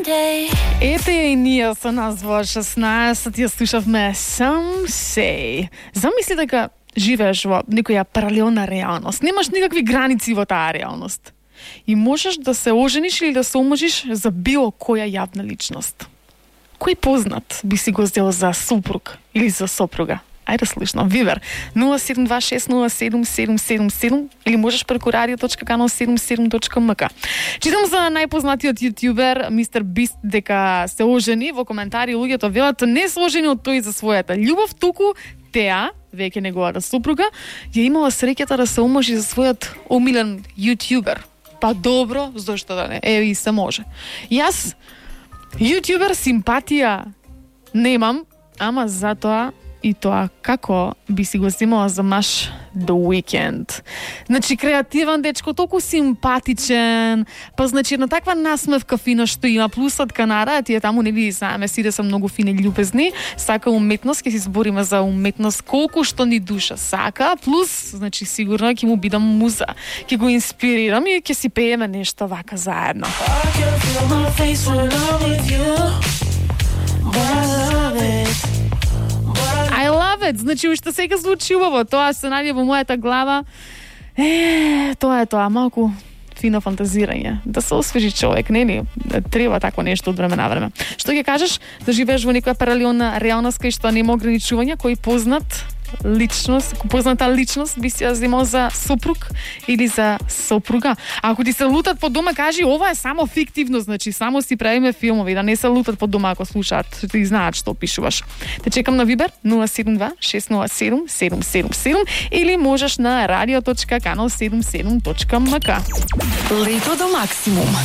Ете и ние со нас во 16 ја слушавме Some Say. Замисли дека живееш во некоја паралелна реалност. Немаш никакви граници во таа реалност. И можеш да се ожениш или да се омажиш за било која јавна личност. Кој познат би си го сделал за супруг или за сопруга? Ајде слушно, Вибер 0726077777 или можеш преку radio.canal77.mk. Читам за најпознатиот јутјубер Мистер Бист дека се ожени. Во коментари луѓето велат не се ожени од тој за својата љубов, туку теа, веќе неговата супруга, ја имала среќата да се омажи за својот омилен јутјубер. Па добро, зошто да не? Еви се може. Јас јутјубер симпатија немам, ама затоа и тоа како би си го земала за маш The Weeknd. Значи, креативен дечко, толку симпатичен, па значи една таква насмевка фина што има, плюсот Канара, тие таму нели знаеме сите се многу фини љубезни, сака уметност, ќе се збориме за уметност колку што ни душа сака, плюс, значи сигурно ќе му бидам муза, ќе го инспирирам и ќе си пееме нешто вака заедно. I love it. Значи, уште сега звучи убаво. Тоа се најде во мојата глава. Тоа е тоа, малку фино фантазирање. Да се освежи човек, нели? Треба тако нешто од време на време. Што ќе кажеш? Да живееш во некоја паралелна реалност кај што нема ограничувања, кој позната личност би си ја земал за сопруг или за сопруга. А ако ти се лутат по дома, кажи ова е само фиктивно, значи само си правиме филмови, да не се лутат по дома ако слушаат, ти знаат што пишуваш. Те чекам на Вибер 072-607-777 или можеш на radio.canal77.mk. Лето до максимум.